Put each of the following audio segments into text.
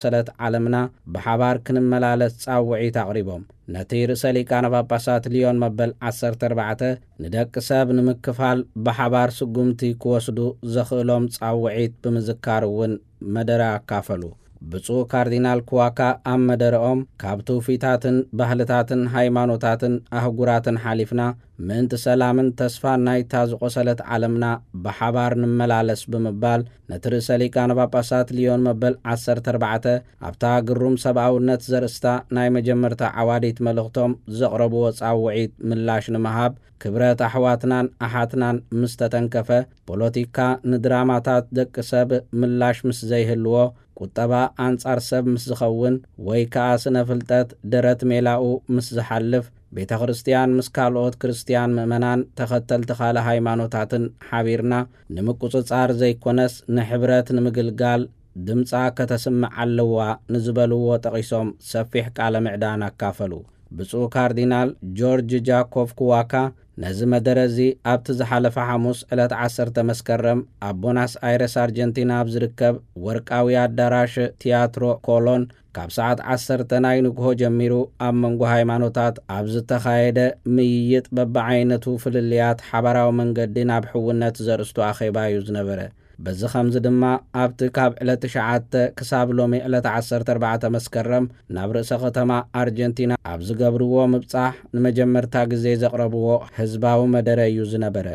ዝቖሰለት ዓለምና ብሓባር ክንመላለስ ጻውዒት ኣቕሪቦም። ነቲ ርእሰ ሊቃነ ጳጳሳት ሊዮን መበል ዓሰርተ ኣርባዕተ ንደቂ ሰብ ንምክፋል ብሓባር ስጉምቲ ክወስዱ ዘኽእሎም ጻውዒት ብምዝካር እውን መደረ ኣካፈሉ። ብፁዕ ካርዲናል ክዋካ ኣብ መደረኦም፣ ካብ ትውፊታትን ባህልታትን ሃይማኖታትን ኣህጉራትን ሓሊፍና ምእንቲ ሰላምን ተስፋን ናይታ ዝቖሰለት ዓለምና ብሓባር ንመላለስ ብምባል፣ ነቲ ርእሰ ሊቃነ ጳጳሳት ሊዮን መበል ዓሰርተ ኣርባዕተ ኣብታ ግሩም ሰብኣውነት ዘርእስታ ናይ መጀመርታ ዓዋዲት መልእኽቶም ዘቕረብዎ ጻውዒት ምላሽ ንምሃብ፣ ክብረት ኣሕዋትናን ኣሓትናን ምስ ተተንከፈ፣ ፖለቲካ ንድራማታት ደቂ ሰብ ምላሽ ምስ ዘይህልዎ፣ ቁጠባ ኣንጻር ሰብ ምስ ዝኸውን፣ ወይ ከኣ ስነ ፍልጠት ደረት ሜላኡ ምስ ዝሓልፍ፣ ቤተ ክርስቲያን ምስ ካልኦት ክርስቲያን ምእመናን ተኸተልቲ ካልእ ሃይማኖታትን ሓቢርና ንምቁጽጻር ዘይኮነስ ንሕብረት ንምግልጋል ድምጻ ከተስምዕ ኣለዋ ንዝበልዎ ጠቒሶም ሰፊሕ ቃለ ምዕዳን ኣካፈሉ። ብፁዕ ካርዲናል ጆርጅ ጃኮቭ ክዋካ ነዚ መደረ እዚ ኣብቲ ዝሓለፈ ሓሙስ ዕለት ዓሰርተ መስከረም ኣብ ቦናስ ኣይረስ ኣርጀንቲና ኣብ ዝርከብ ወርቃዊ ኣዳራሽ ቲያትሮ ኮሎን ካብ ሰዓት ዓሰርተ ናይ ንግሆ ጀሚሩ ኣብ መንጎ ሃይማኖታት ኣብ ዝተኻየደ ምይይጥ በብዓይነቱ ፍልልያት ሓባራዊ መንገዲ ናብ ሕውነት ዘርእስቱ ኣኼባ እዩ ዝነበረ። በዚ ኸምዚ ድማ ኣብቲ ካብ ዕለት ትሽዓተ ክሳብ ሎሚ ዕለት ዓሰርተ ኣርባዕተ መስከረም ናብ ርእሰ ከተማ ኣርጀንቲና ኣብ ዝገብርዎ ምብጻሕ ንመጀመርታ ግዜ ዘቕረብዎ ህዝባዊ መደረ እዩ ዝነበረ።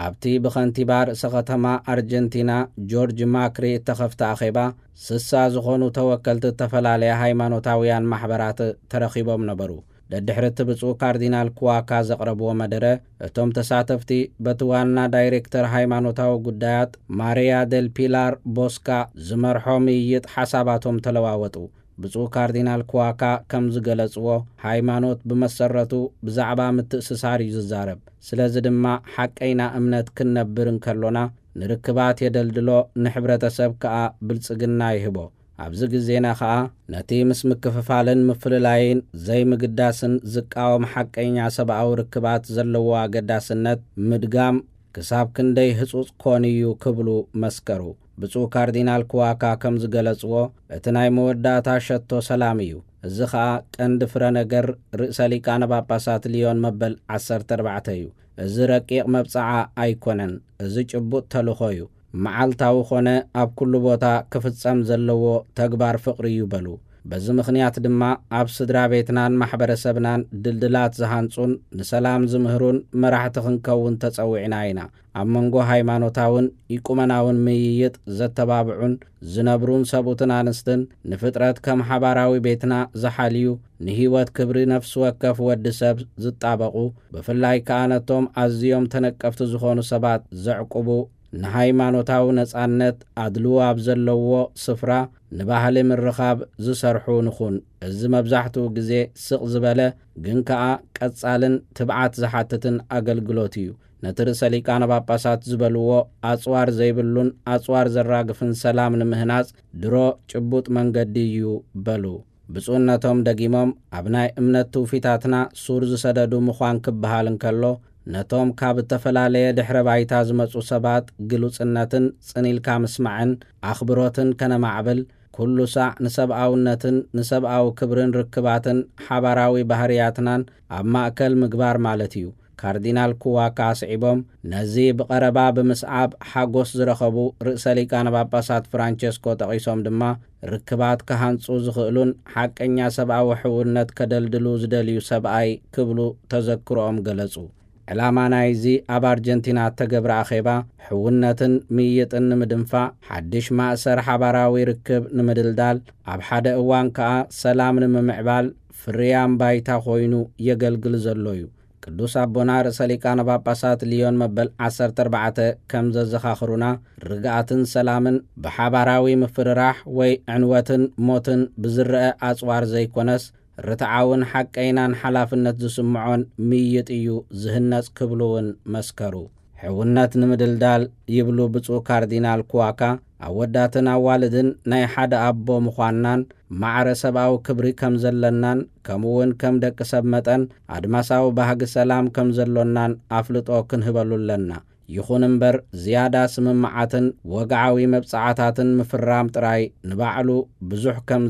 ኣብቲ ብኸንቲባ ርእሰ ከተማ ኣርጀንቲና ጆርጅ ማክሪ እተኸፍተ ኣኼባ፣ ስሳ ዝኾኑ ተወከልቲ እተፈላለያ ሃይማኖታውያን ማሕበራት ተረኺቦም ነበሩ። ደድሕሪ እቲ ብፁዕ ካርዲናል ክዋካ ዘቕረብዎ መደረ፣ እቶም ተሳተፍቲ በቲ ዋና ዳይሬክተር ሃይማኖታዊ ጉዳያት ማሪያ ደል ፒላር ቦስካ ዝመርሖ ምይይጥ ሓሳባቶም ተለዋወጡ። ብፁዕ ካርዲናል ክዋካ ከም ዝገለጽዎ፣ ሃይማኖት ብመሰረቱ ብዛዕባ ምትእስሳር እዩ ዝዛረብ። ስለዚ ድማ ሓቀይና እምነት ክንነብር እንከሎና ንርክባት የደልድሎ፣ ንሕብረተሰብ ከኣ ብልጽግና ይህቦ። ኣብዚ ግዜና ከኣ ነቲ ምስ ምክፍፋልን ምፍልላይን ዘይምግዳስን ዝቃወም ሓቀኛ ሰብኣዊ ርክባት ዘለዎ ኣገዳስነት ምድጋም ክሳብ ክንደይ ህጹጽ ኮን እዩ ክብሉ መስከሩ። ብፁዕ ካርዲናል ክዋካ ከም ዝገለጽዎ፣ እቲ ናይ መወዳእታ ሸቶ ሰላም እዩ። እዚ ኸኣ ቀንዲ ፍረ ነገር ርእሰ ሊቃነ ጳጳሳት ሊዮን መበል ዓሰርተ ኣርባዕተ እዩ። እዚ ረቂቕ መብጽዓ ኣይኮነን፣ እዚ ጭቡጥ ተልእኾ እዩ። መዓልታዊ ኾነ ኣብ ኩሉ ቦታ ክፍጸም ዘለዎ ተግባር ፍቕሪ እዩ በሉ። በዚ ምኽንያት ድማ ኣብ ስድራ ቤትናን ማሕበረሰብናን ድልድላት ዝሃንጹን ንሰላም ዝምህሩን መራሕቲ ክንከውን ተጸዊዕና ኢና። ኣብ መንጎ ሃይማኖታውን ኢቁመናውን ምይይጥ ዘተባብዑን ዝነብሩን ሰብኡትን ኣንስትን፣ ንፍጥረት ከም ሓባራዊ ቤትና ዝሓልዩ፣ ንህይወት ክብሪ ነፍሲ ወከፍ ወዲ ሰብ ዝጣበቑ፣ ብፍላይ ከኣ ነቶም ኣዝዮም ተነቀፍቲ ዝኾኑ ሰባት ዘዕቁቡ፣ ንሃይማኖታዊ ነጻነት ኣድልዎ ኣብ ዘለዎ ስፍራ ንባህሊ ምርኻብ ዝሰርሑ ንኹን። እዚ መብዛሕትኡ ግዜ ስቕ ዝበለ ግን ከኣ ቀጻልን ትብዓት ዝሓትትን ኣገልግሎት እዩ። ነቲ ርእሰ ሊቃነ ጳጳሳት ዝበልዎ ኣጽዋር ዘይብሉን ኣጽዋር ዘራግፍን ሰላም ንምህናጽ ድሮ ጭቡጥ መንገዲ እዩ በሉ። ብፁዕነቶም ደጊሞም፣ ኣብ ናይ እምነት ትውፊታትና ሱር ዝሰደዱ ምዃን ክበሃል እንከሎ፣ ነቶም ካብ እተፈላለየ ድሕረ ባይታ ዝመጹ ሰባት ግሉጽነትን ጽን ኢልካ ምስማዕን ኣኽብሮትን ከነማዕብል፣ ኩሉ ሳዕ ንሰብኣውነትን ንሰብኣዊ ክብርን ርክባትን ሓባራዊ ባህርያትናን ኣብ ማእከል ምግባር ማለት እዩ። ካርዲናል ኩዋካ ኣስዒቦም፣ ነዚ ብቐረባ ብምስዓብ ሓጎስ ዝረኸቡ ርእሰ ሊቃነ ጳጳሳት ፍራንቸስኮ ጠቒሶም ድማ፣ ርክባት ክሃንጹ ዝኽእሉን ሓቀኛ ሰብኣዊ ሕውነት ከደልድሉ ዝደልዩ ሰብኣይ ክብሉ ተዘክሮኦም ገለጹ። ዕላማ ናይዚ ኣብ ኣርጀንቲና እተገብረ ኣኼባ፣ ሕውነትን ምይይጥን ንምድንፋዕ፣ ሓድሽ ማእሰር ሓባራዊ ርክብ ንምድልዳል፣ ኣብ ሓደ እዋን ከኣ ሰላም ንምምዕባል ፍርያም ባይታ ኮይኑ የገልግል ዘሎ እዩ። ቅዱስ ኣቦና ርእሰ ሊቃነ ጳጳሳት ሊዮን መበል ዓሰርተ ኣርባዕተ ከም ዘዘኻኽሩና፣ ርግኣትን ሰላምን ብሓባራዊ ምፍርራሕ ወይ ዕንወትን ሞትን ብዝረአ ኣጽዋር ዘይኮነስ፣ ርትዓውን ሓቀይናን ሓላፍነት ዝስምዖን ምይይጥ እዩ ዝህነጽ ክብሉ እውን መስከሩ። ሕውነት ንምድልዳል ይብሉ ብፁዕ ካርዲናል ኩዋካ፣ ኣወዳትን ኣዋልድን ናይ ሓደ ኣቦ ምዃንናን ማዕረ ሰብኣዊ ክብሪ ከም ዘለናን፣ ከምኡውን ከም ደቂ ሰብ መጠን ኣድማሳዊ ባህጊ ሰላም ከም ዘሎናን ኣፍልጦ ክንህበሉ ኣለና። ይኹን እምበር ዝያዳ ስምምዓትን ወግዓዊ መብጽዓታትን ምፍራም ጥራይ ንባዕሉ ብዙሕ ከም